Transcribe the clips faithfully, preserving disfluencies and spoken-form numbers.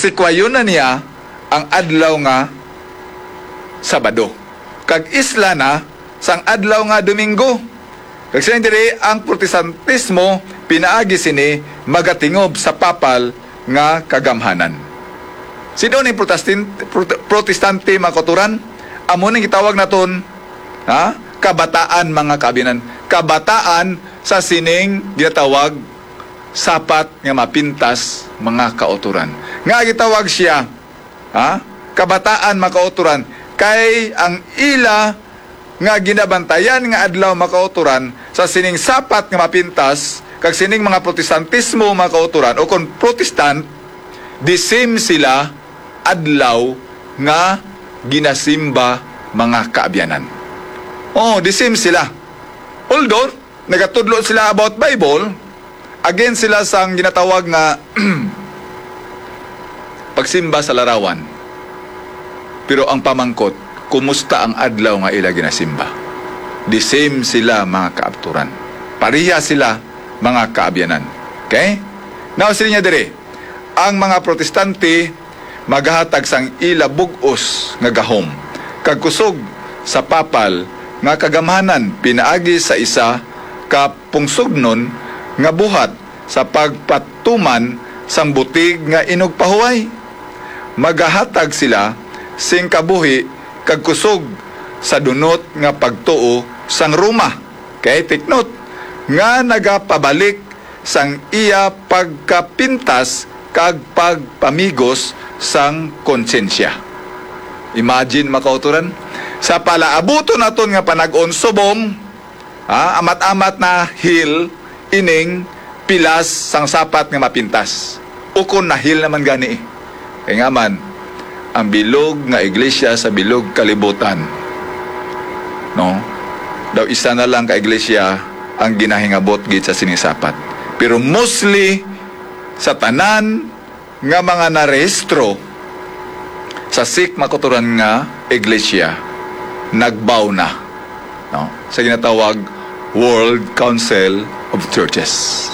sikwayon na niya ang adlaw nga Sabado, kag isla na sang adlaw nga Domingo. Kag siling diri, ang Protestantismo pinaagi sini magatingob sa papal nga kagamhanan. Sino ni Protestin-, Prote-, Protestante, mga kauturan? Amo ning gitawag naton, ha? Kabataan, mga kaabyanan. Kabataan sa sining ginatawag sapat nga mapintas, mga kauturan. Nga gitawag siya, ha? Kabataan, mga kauturan, kay ang ila nga ginabantayan nga adlaw, mga kauturan, sa sining sapat nga mapintas, kag sining mga Protestantismo, mga kauturan, o kon Protestant, the same sila adlaw nga ginasimba, mga kaabyanan. Oh, the same sila. Although, nagatudlo sila about Bible, against sila sang ginatawag nga pagsimba sa larawan. Pero ang pamangkot, kumusta ang adlaw nga ila ginasimba? The same sila, mga kaabturan. Pareha sila, mga kaabyanan. Okay? Now, sila niya dire, ang mga Protestante magahatag sang ila bug-os nga gahom kag kusog sa papal nga kagamhanan pinaagi sa isa ka pungsugnon nga buhat sa pagpatuman sang butig nga inugpahuway. Magahatag sila sing kabuhi kag kusog sa dunot nga pagtuo sang Roma. Kay take note nga nagapabalik sang iya pagkapintas kag pagpamigos sang konsyensya. Imagine, mga kauturan, sa palaabuton naton nga panag-on subong, ha, amat-amat na hil ining pilas sang sapat nga mapintas. Ukon na hil naman gani, eh. Kay nga man, ang bilog nga iglesia sa bilog kalibutan, no? Daw isa na lang ka iglesia ang ginahingabot gid sa sining sapat. Pero mostly, sa tanan nga mga narehistro sa sikh, mga kauturan, nga iglesia, nagbaw na, no? Sa ginatawag World Council of Churches.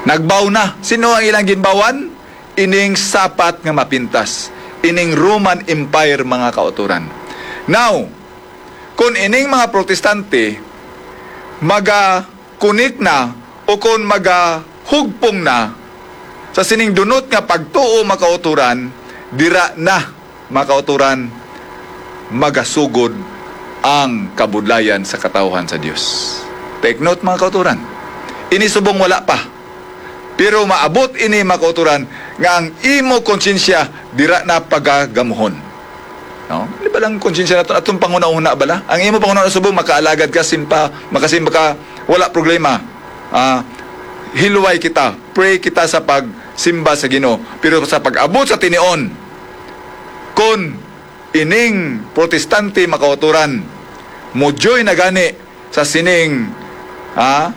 Nagbaw na. Sino ang ilang ginbawan? Ining sapat nga mapintas, ining Roman Empire, mga kauturan. Now, kung ining mga Protestante magakunik na o kung magahugpong na sa sining dunot nga pagtuo, mga kauturan, dira na, mga kauturan, magasugod ang kabudlayan sa katawhan sa Dios. Take note, mga kauturan. Ini subong wala pa. Pero maabot ini, mga kauturan, nga ang imo konsyensya dira na pagagamuhon. No? Di ba lang konsyensya naton, atong panghunahuna bala? Ang imo panghunahuna subong makaalagad ka, simpa, makasimba ka, wala problema. Ah, hilway kita, pray kita sa pagsimba sa Ginoo. Pero sa pag-abot sa tinion, kon ining Protestante, mga kauturan, mujoy na gani sa sining, ah,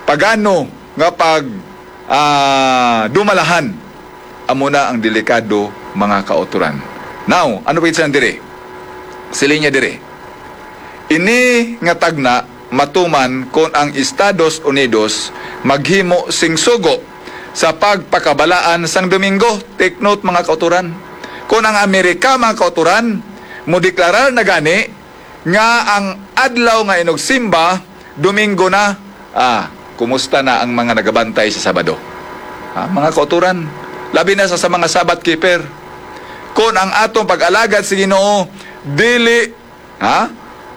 pagano nga pag, ah, dumalahan. Amo na ang delikado, mga kauturan. Now, ano pa gid siya diri? Siling niya diri, ini nga tagna matuman kon ang Estados Unidos maghimo sing sugo sa pagpakabalaan sang Domingo. Take note, mga kauturan. Kon ang Amerika, mga kauturan, modeklarar na gani nga ang adlaw nga inugsimba, Domingo na, ah, kumusta na ang mga nagabantay sa Sabado? Ah, mga kauturan, labi na sa, sa mga Sabbath keeper. Kon ang atong pag-alagad sa Ginoo dili, ha,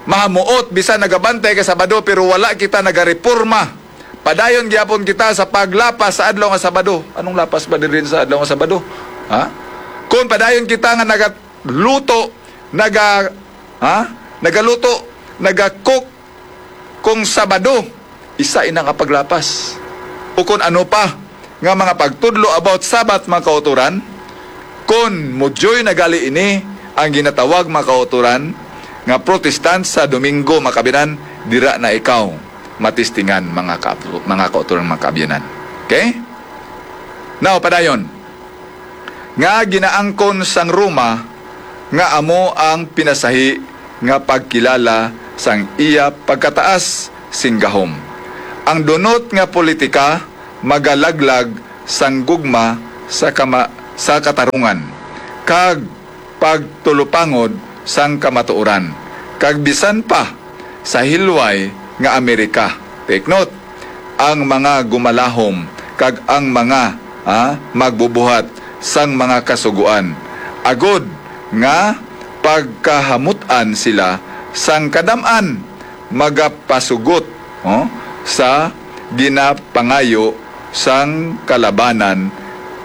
mahamuot, bisan nagabantay ka Sabado pero wala kita nagareporma, padayon gyapon kita sa paglapas sa adlaw nga Sabado. Anong lapas ba diri sa adlaw nga Sabado? Ha? Kung padayon kita nga nagaluto, naga, ha? Nagaluto, nagacook kung Sabado, isa ina nga paglapas. O kung ano pa nga mga pagtudlo about Sabbath, mga kauturan, kon mujoy na gali ini ang ginatawag, mga kauturan, nga Protestant sa Domingo, mga kaabyanan, dira na ikaw matistingan, mga kaabyanan, mga kauturan, mga kaabyanan. Okay? Now, padayon, nga ginaangkon sang Roma nga amo ang pinasahi nga pagkilala sang iya pagkataas sing gahom. Ang dunot nga politika magalaglag sang gugma sa kama-, sa katarungan, kag pagtulupangod sang kamatuoran, kag bisan pa sa hilway nga Amerika. Take note, ang mga gumalahom kag ang mga, ah, magbubuhat sang mga kasugoan, agod nga pagkahamut-an sila sang kadam-an, magapasugot, oh, sa ginapangayo sang kalabanan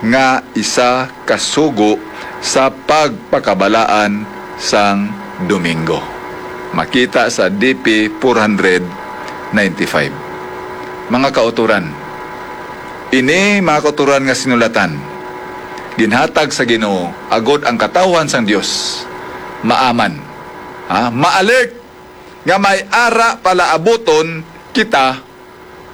nga isa ka sugo sa pagpakabalaan sang Domingo. Makita sa D P four hundred ninety-five. Mga kauturan, ini, mga kauturan, nga sinulatan ginhatag sa Ginoo, agod ang katawhan sang Dios maaman, ha, ma-alert nga may ara palaabuton kita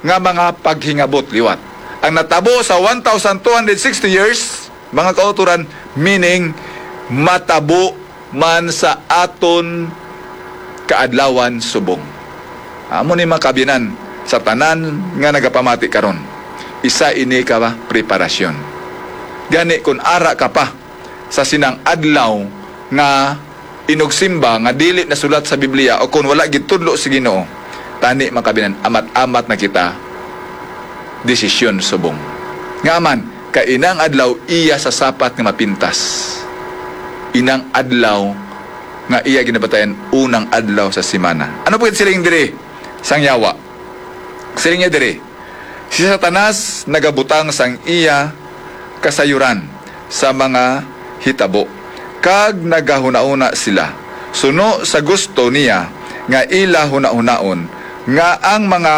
nga mga paghingabot liwat. Ang natabo sa one thousand two hundred sixty years, mga kauturan, meaning matabo man sa aton kaadlawan subong. Amo ni, mga kaabyanan, sa tanan nga nagapamati karon, isa ini ka preparasyon. Gani, kun ara ka pa sa sinang adlaw nga inugsimba nga dili nasulat sa Biblia, o kon wala gitudlo sa Ginoo, tani, mga kaabyanan, amat-amat na kita desisyon subong. Nga man, kay inang adlaw iya sa sapat nga mapintas. Inang adlaw nga iya ginabatayan unang adlaw sa semana. Ano pa gid siling diri sang yawa? Siling niya diri, "Si Satanas nagabutang sang iya kasayuran sa mga hitabo, kag nagahunahuna sila suno sa gusto niya nga ila hunahunaon, nga ang mga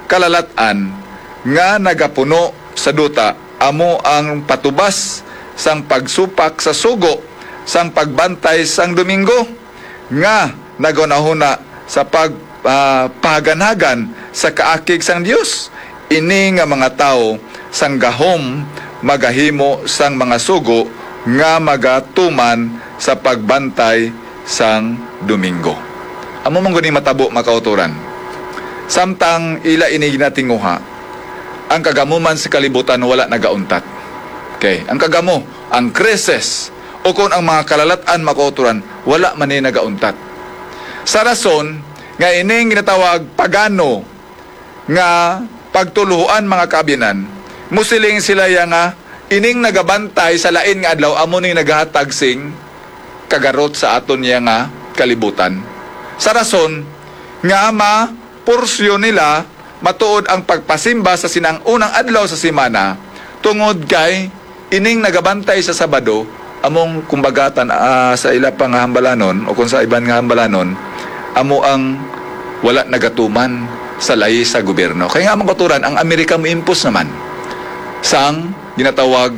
kalalat-an nga nagapuno sa duta amo ang patubas sang pagsupak sa sugo sang pagbantay sang Domingo, nga naghunahuna sa pag, ah, pahaganhagan sa kaakig sang Dios. Ini nga mga tawo sang gahom magahimo sang mga sugo nga magatuman sa pagbantay sang Domingo." Amo man gani matabo, mga kauturan. Samtang ila ini ginatinguha, ang kagamuman sa kalibutan wala nagauntat. Okay, ang kagamo, ang krisis, o kon ang mga kalalat-an, mga kauturan, wala man ni nagauntat. Sa rason nga ining ginatawag pagano nga pagtuluhoan, mga kaabyanan, musiling sila ya nga ining nagabantay sa lain nga adlaw amo ning nagahatag sing kagarot sa aton ya nga kalibutan. Sa rason nga mapursyo nila matuod ang pagpasimba sa sinang unang adlaw sa semana, tungod kay ining nagabantay sa Sabado, among kumbaga tan-, ah, sa ila pa nga hambalanon o kung sa iban nga hambalanon, amo ang wala nagatuman sa layi sa gobyerno. Kay nga, mga kauturan, ang Amerika mo-impose naman sang ginatawag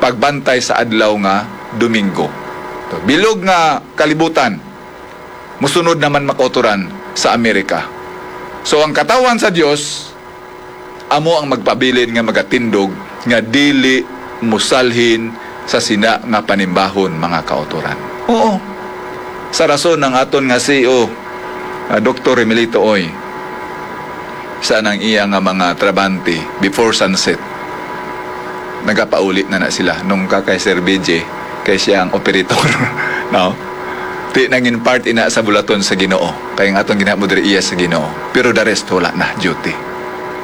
pagbantay sa adlaw nga Domingo. Bilog nga kalibutan, musunod naman, mga kauturan, sa Amerika. So, ang katawhan sa Dios amo ang magpabilin nga magatindog nga dili musalhin sa sina nga panimbahon, mga kauturan. Oo. Sa rason ang aton nga C E O, ah, Doktor Remelito Oy, sa nang iya nga mga trabante before sunset, nagapauli na na sila nung ka kay Sir B J, kay siya ang operator, no? Di nangin part ina sa bulaton sa Ginoo, kay ang atong ginhimo diri iya sa Ginoo. Pero the rest, wala na, duty.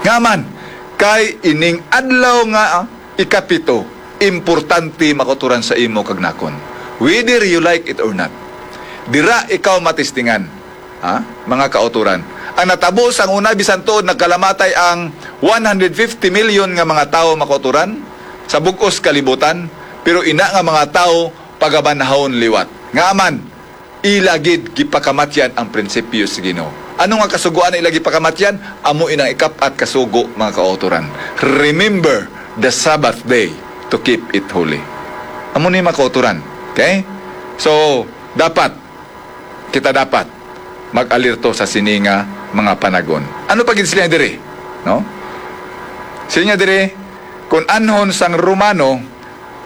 Nga man, kay ining adlaw nga, ah, ikapito, importante, mga kauturan, sa imo kag nakon. Whether you like it or not, dira ikaw matistingan, ha, mga kauturan. Ang natabo sang una, bisan tuod nagkalamatay ang one hundred fifty million nga mga tawo, mga kauturan, sa bug-os kalibutan, pero ina nga mga tawo pagabanhawon liwat. Nga man, ila gid gipakamatyan ang prinsipyo sa Ginoo. Ano nga kasugoan ang ila gipakamatyan? Amo inang ikap-at kasugo, mga kauturan. "Remember the Sabbath day to keep it holy." Amo ni, mga kauturan. Okay? So, dapat, kita dapat mag-alerto sa sini nga mga panagon. Ano pa gid sila diri? No? Sila diri, kung anhon sang Romano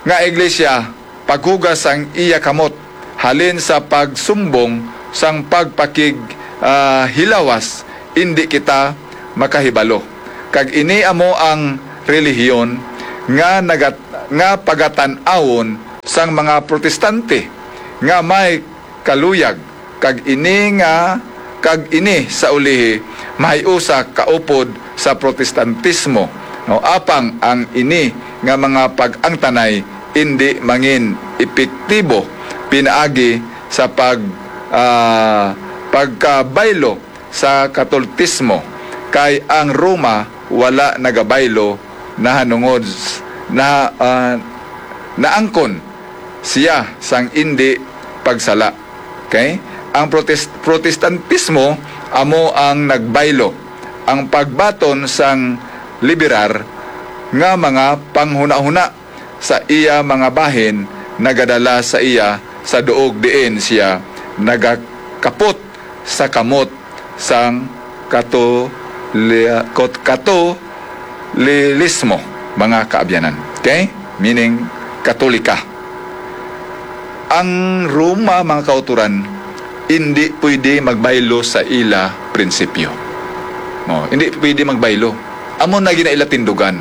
nga iglesia, paghugas sang iya kamot halin sa pagsumbong sang pagpakig, ah, hilawas, indi kita makahibalo. Kag ini amo ang relihiyon nga nagat-, nga pagatan-awon sang mga Protestante nga may kaluyag, kag ini nga, kag ini sa ulihi mahiusa kaupod sa Protestantismo, no? Apang ang ini nga mga pag-angtanay indi mangin epektibo pinaagi sa pag, ah, pagkabaylo sa Katoltismo, kay ang Roma wala nagabaylo nahanungod s-, na, ah, naangkon siya sang indi pagsala. Okay? Ang Protest-, Protestantismo amo ang nagbaylo, ang pagbaton sang liberal nga mga panghunahuna sa iya mga bahin nagadala sa iya sa duog diin siya nagakapot sa kamot sang Katoli-, Kot-, Katolilismo, mga kaabyanan. Okay? Meaning, Katolika. Ang Roma, mga kauturan, hindi pwede magbaylo sa ila prinsipyo. No, hindi pwede magbaylo. Amo na gina ila tindugan.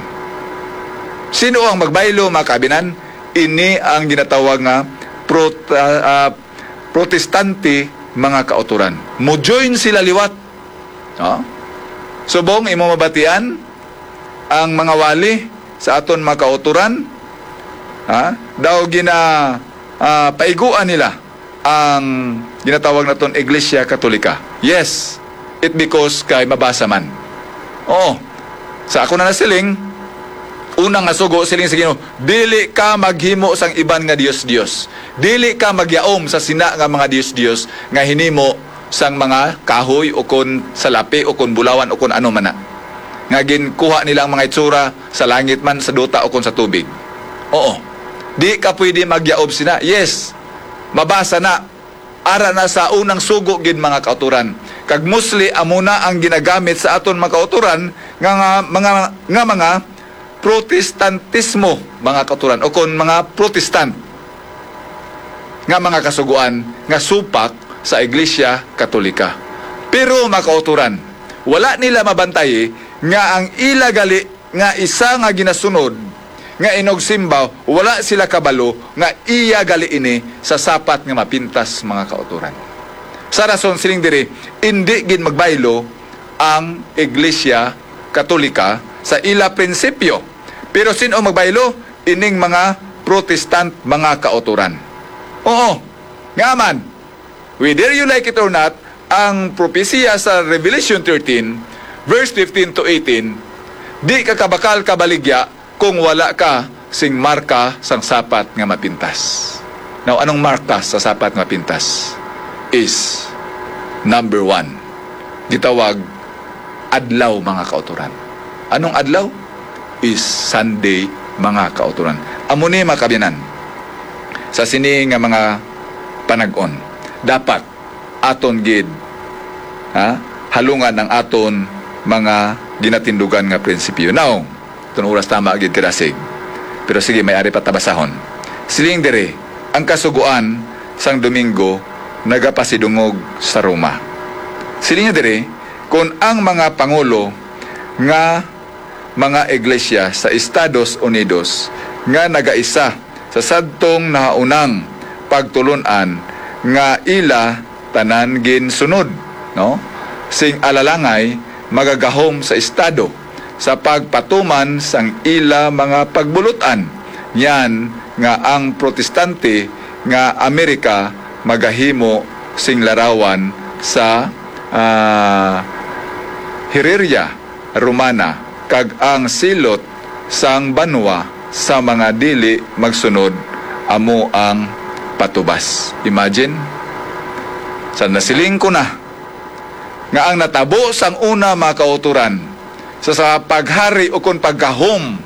Sino ang magbaylo, mga kaabyanan? Ini ang ginatawag nga prot-, ah, ah, Protestante, mga kauturan. Mo-join sila liwat. No? Subong imo mabatian ang mga wali sa aton mga kauturan, ha? Daw gina, ah, paiguan nila ang ginatawag naton Iglesia Katolika. Yes, it because kay mabasa man. Oo. Sa ako na nasiling, una nga sugo, siling sa Ginoo, "Dili ka maghimo sang iban nga dios-dios. Dili ka magyaom sa sina nga mga dios-dios nga hinimo sang mga kahoy, o kon salapi, o kon bulawan, o kon ano man na, nga ginkuha nila ang mga itsura sa langit man, sa duta, o kon sa tubig." Oo. Di ka pwede magyaom sina. Yes. Mabasa na. Ara na sa unang sugo gid, mga kauturan. Kag mostly, amo na ang ginagamit sa aton mga kauturan nga, nga mga, nga mga Protestantismo, mga kauturan, o kon mga Protestant nga mga kasugoan nga supak sa Iglesia Katolika. Pero, mga kauturan, wala nila mabantay nga ang ila gali nga isa nga ginasunod nga inugsimba, wala sila kabalo nga iya gali ini sa sapat nga mapintas, mga kauturan. Sa rason sining diri, indi gid magbaylo ang Iglesia Katolika sa ila prinsipyo. Pero sin-o magbaylo? Ining mga Protestant, mga kauturan. Oo, nga man, whether you like it or not, ang propesiya sa Revelation thirteen, verse fifteen to eighteen, di ka kabakal kabaligya kung wala ka sing marka sang sapat nga mapintas. Now, anong marka sa sapat nga mapintas? Is number one. Gitawag adlaw, mga kauturan. Anong adlaw? Is Sunday, mga kauturan. Amo ni, mga kaabyanan, sa sini nga mga panag-on, dapat aton gid, ha, halungan ang aton mga ginatindugan nga prinsipyo. Now, itong oras tama gid kadasig. Pero sige, may ari pa tabasahon. Siling diri, ang Kasugoan sang Domingo nagapasidungog sa Roma. Siling niya diri, kung ang mga pangulo nga mga iglesia sa Estados Unidos nga nagaisa sa sadtong nahaunang pagtulon-an nga ila tanan ginsunod, no? Sing alalangay magagahom sa estado sa pagpatuman sang ila mga pagbulut-an. Yan nga ang protestante nga Amerika magahimo sing larawan sa, ah, Hireria Romana, kag ang silot sang banwa sa mga dili magsunod amo ang patubas. Imagine, sa nasiling ko na nga ang natabo sang una, mga kauturan, sa, sa paghari ukon paggahom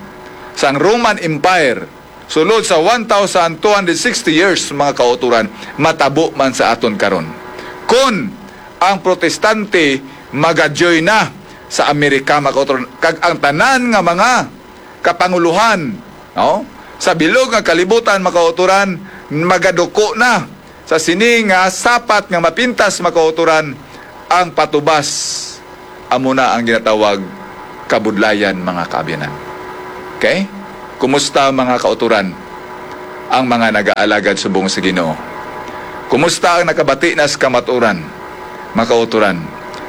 sang Roman Empire sulod sa one thousand two hundred sixty years, mga kauturan, matabo man sa aton karon. Kon ang protestante magajoy na sa Amerika, mga kauturan, kag ang tanan nga mga kapangulohan, no, sa bilog nga kalibutan, mga kauturan, magaduko na sa sini nga sapat nga mapintas, mga kauturan, ang patubas. Amo na ang ginatawag kabudlayan, mga kaabyanan. Okay? Kumusta, mga kautoran, ang mga nagaalagad subong sa Ginoo? Kumusta ang nakabati na sa kamaturan? Mga kautoran,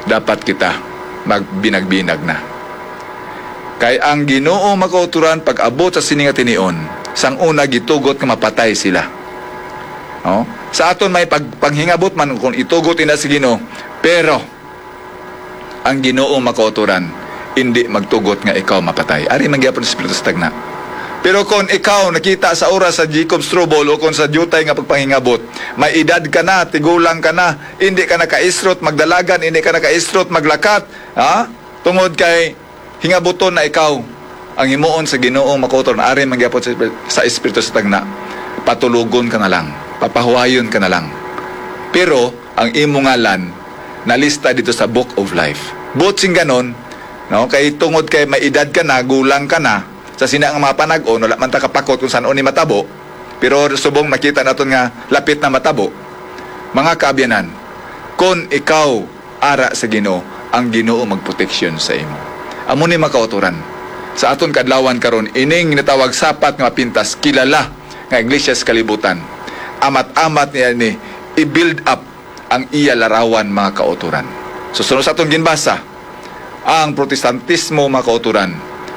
dapat kita magbinag-binag na. Kay ang Ginoo, mga kautoran, pag-abot sa sini nga tinion, sang una gitugot nga mapatay sila. No? Sa aton may pag-, panghingabot man kung itugot ina sa Ginoo, pero ang Ginoo, mga kautoran, indi magtugot nga ikaw mapatay. Ari man gyapon sa Espiritu sa Tagna. Pero kung ikaw nakita sa oras sa Jacob's trouble o kung sa diutay nga pagpanghingabot, may edad ka na, tigulang ka na, indi ka na kaisrot magdalagan, indi ka na kaisrot maglakat, ha? Tungod kay hingabuton na ikaw, ang himuon sa Ginoo, mga kautoran, ari man gyapon sa, sa Espiritu sa Tagna, patulogon ka na lang, papahuwayon ka na lang. Pero ang imo ngalan nalista dito sa Book of Life. Buot sing ganon, no? Kay tungod kay may edad ka na, gulang ka na, sa sina nga mga panag-on, wala man ta kapakot kung san-o ni matabo, pero subong makita naton nga lapit na matabo. Mga kaabyanan, kon ikaw ara sa Ginoo, ang Ginoo magproteksyon sa imo. Amo ni, mga kautoran, sa aton kadlawan karon, ining natawag sapat nga mapintas, kilala nga iglesia sa kalibutan. Amat-amat niya ni i-build up ang iya larawan, mga kautoran. So, sunod sa aton ginbasa, ang Protestantismo, mga kautoran,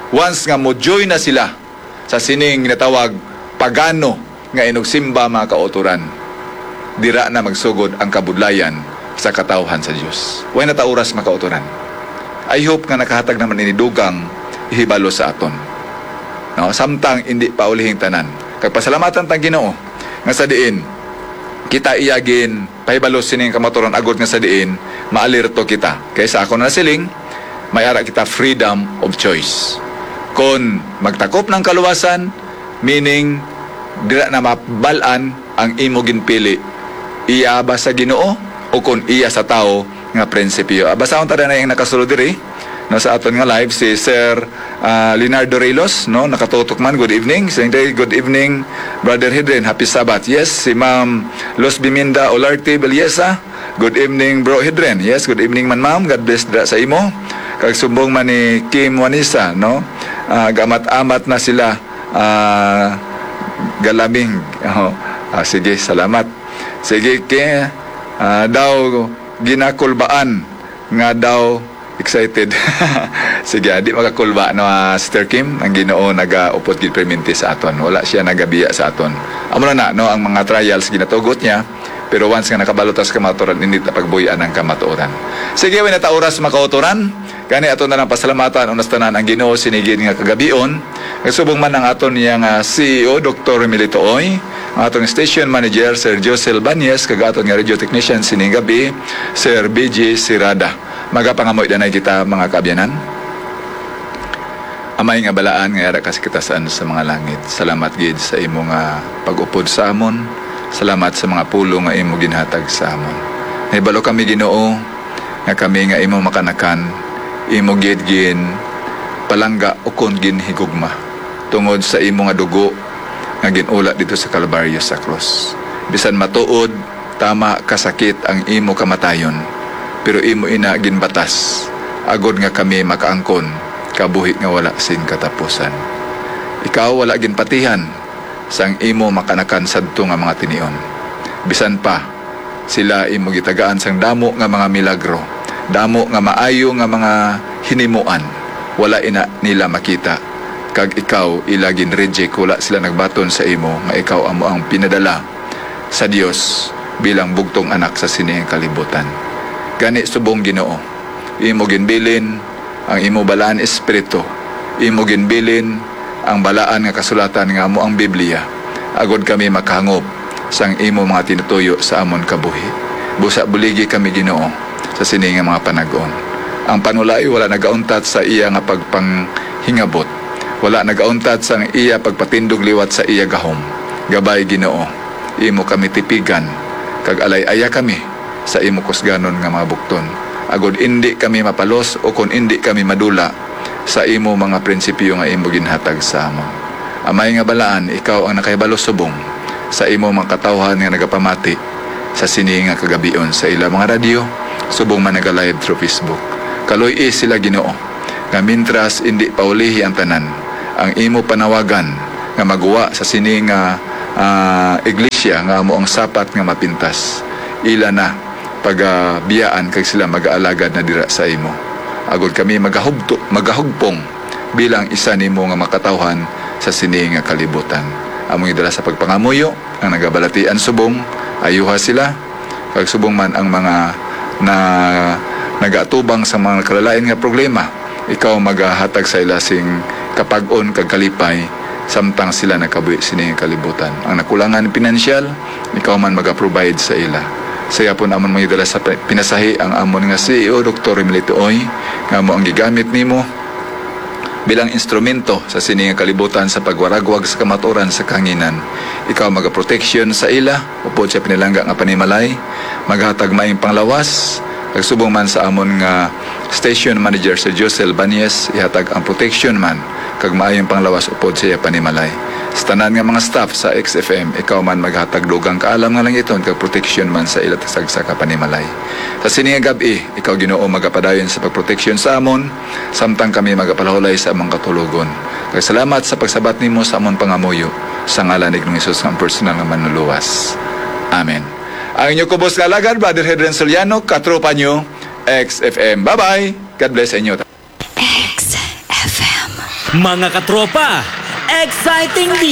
once nga mo-join na sila sa sining ginatawag pagano nga inugsimba, mga kautoran, dira na magsugod ang kabudlayan sa katawhan sa Dios. Way na ta oras, mga kautoran. I hope nga nakahatag naman ini dugang hibalo sa aton, no? Samtang indi pa ulihing tanan. Kag pasalamatan tang Ginoo nga sa diin kita iya gin pahibalo sining kamaturan agod nga sa diin maalerto kita. Kay sa akon na siling, may ara kita freedom of choice. Kon magtakop ng kaluwasan, meaning dira na mabal-an ang imo ginpili, iya ba sa Ginoo o kon iya sa tawo nga prinsipyo? Ah, basahon ta na yung nakasulod diri, no, sa aton nga live, si Sir, ah, Leonardo Rilos, no, nakatutok man. Good evening. Siyempre, good evening, Brother Hedren. Happy Sabbath. Yes, si Ma'am Luz Biminda Olarte Belleza. Good evening, Bro Hedren. Yes, good evening man, ma'am. God bless dira sa imo. Kag sumbong man ni Kim Wanisa, no? Ah, gamat-amat na sila, ah, galaming. Oh, ah, sige, salamat. Sige, ke, ah, daw ginakulbaan nga daw excited. Sige, ah, di makakulba, no, ah, Sister Kim, ang Ginoo nagaupod gid perminti sa aton. Wala siya nagabiya sa aton. Amo na na, no, ang mga trials ginatugot niya, pero once nga nakabalo ta sa kamatuoran, hindi ta pagbuy-an ang kamatuoran. Sige, way na ta oras, mga kautoran. Gani ato na lang pasalamatan unas tanan ang Ginoo sinigid nga kagabion. Nagsubong man ang aton niya nga C E O, Doktor Melito Oy, ang aton station manager, Sir Josel Banyes, kag aton nga radio technician sining gabi, Sir B J Sirada. Magapangamoy danay kita, mga kaabyanan. Amay nga balaan nga yara ka sa kitasan sa mga langit, salamat gid sa imo nga pag-upod sa amon. Salamat sa mga pulong nga imo ginhatag sa amon. Nahibalo kami, Ginoo, nga kami nga imo makanakan, imo gid gin palangga ukon ginhigugma tungod sa imo nga dugo nga gin-ula didto sa Kalbaryo sa krus. Bisan matuod, tama, kasakit ang imo kamatayon, pero imo ina ginbatas agod nga kami makaangkon kabuhi nga wala sing katapusan. Ikaw wala ginpatihan sang imo makanakan sadto nga mga tinion. Bisan pa, sila imo gitagaan sang damo nga mga milagro, damo nga maayo nga mga hinimuan, wala ina nila makita, kag ikaw ila gin-reject, wala sila nagbaton sa imo nga ikaw amo ang pinadala sa Dios bilang bugtong anak sa sini nga kalibutan. Gani subong, Ginoo, imo ginbilin ang imo balaan Espiritu, imo ginbilin ang balaan nga kasulatan nga amo ang Biblia, agod kami makahangop sang imo mga tinutuyo sa amon kabuhi. Busa buligi kami, Ginoo, sa sini nga mga panag-on. Ang panulay wala nagauntat sa iya nga pagpanghingabot, wala nagauntat sang iya pagpatindog liwat sa iya gahom. Gabay, Ginoo, imo kami tipigan, kag alay-aya kami sa imo kusganon nga mga bukton, agod indi kami mapalos ukon indi kami madula sa imo mga prinsipyo nga imo ginhatag sa amon. Amay nga balaan, ikaw ang nakahibalo subong sa imo mga katawhan nga nagapamati sa sini nga kagabion sa ila mga radyo, subong man naga-live through Facebook. Kaluy-i sila, Ginoo, nga mintras indi paulihi ang tanan, ang imo panawagan nga maguwa sa sini nga, ah, iglesia nga amo ang sapat nga mapintas. Ila na pagabiyaan kag sila magaalagad na dira sa imo. Agod kami magahubto, magahugpong bilang isa nimo nga makatawhan sa sini nga kalibutan. Among idala sa pagpangamuyo ang nagabalatian subong, ayuha sila, kag subong man ang mga na nagaatubang sa mga kalalain nga problema, ikaw magahatag sa ila sing kapag-on kag kalipay samtang sila nakabuhi sini nga kalibutan. Ang nakulangan pinansyal, ikaw man magaprovide sa ila. Sa yapon amon mga dala sa pinasahi ang amon nga C E O, Doktor Remilito Oy, nga mo ang gigamit nimo bilang instrumento sa sini nga kalibutan sa pagwaragwag sa kamaturan sa kahanginan. Ikaw magaproteksyon sa ila upod sa pinalangga nga panimalay, maghatag maayong panglawas, kag subong man sa amon nga station manager, Sir Josel Banyes, ihatag ang protection man kag maayong panglawas upod sa iya panimalay. Sa tanan nga mga staff sa X F M, ikaw man maghatag dugang kaalam nga langiton kag protection man sa ila tagsagsa ka panimalay. Sa sini nga gab-i, ikaw, Ginoo, magapadayon sa pagproteksyon sa amon, samtang kami magapalahulay sa among katulogon. Kag salamat sa pagsabat nimo sa amon pangamuyo, sa ngalan ni Ginoong Jesus nga ang personal nga Manluluwas. Amen. Ang inyo kubos nga alagad, Brother Hedren Soliano, katropa nyo, X F M. Bye-bye. God bless sa inyo. X F M. Mga katropa, exciting di